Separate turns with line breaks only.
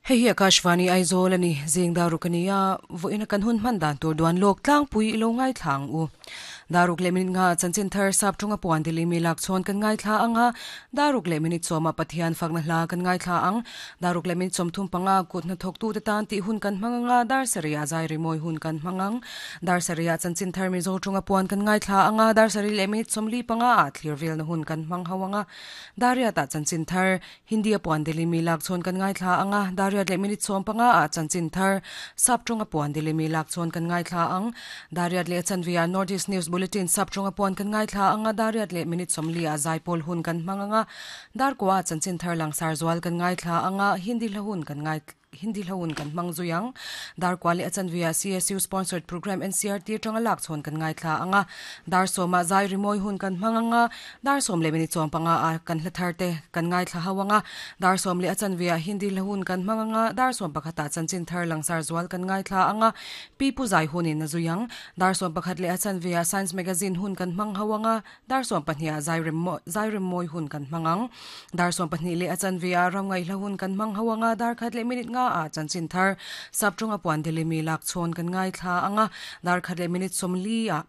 Hei hi Akashvani Aizawl a ni, zing daruk a ni a, vawiina kan hun hman dan tur duan lawk tlangpui i lo ngaithla ang u. Daruk leh minute nga chanchin thar sap tunga puan dili mi lak chhawn kan ngaithla ang a, daruk leh minute sawma Pathian fakna hla kan ngaithla ang. Daruk leh minute 35 kut hnathawktute tan tih hun kan hmang ang a, dar sarihah zai rimawi hun kan hmang ang. Dar sarihah chanchin thar Mizo tunga puan kan ngaithla ang a, dar sarih leh minute 45 ah thlir velna hun kan hmang ho ang a. Dariatah chanchin thar Hindi a puan deli mi lak chhawn kan ngaithla ang a, Dariat leh minute 15 ah chanchin thar sap tawnga puan deli mi lak chhawn kan ngaithla ang. Dariat leh a chanve ah North East News Bulletin sap tawnga puan kan ngaithla ang a, Dariat leh minute 40 ah zaipawl hun kan hmang ang a, Darkua ah chanchin thar langsar zual kan ngaithla ang a, Hindi hla hun kan ngaithla. Hindi hla hun kan hmang zui ang. Darkua leh a chanve ah CSU sponsored programme NCRT atanga lak chhawn kan ngaithla ang a. Dar sawmah zai rimawi hun kan hmang ang a, dar sawm leh minute 15 ah kan hla thar te kan ngaithla ho ang a. Dar sawm leh a chanve ah Hindi hla hun kan hmang ang a, dar 11 ah chanchin thar langsar zual kan ngaithla ang a, Pi Pu zai hunin a zui ang. Dar 11 leh a chanve ah Science Magazine hun kan hmang ho ang a, Dar 12 ah zai rem zai rem mawi hun kan hmang ang. Dar 12 leh a chanve ah ram ngaihla hun kan hmang ho ang a, dar khat leh minute nga ah chanchin thar Saptawnga puan delimi lak chhawn kan ngaithla ang a, dar khat leh minute 40 ah.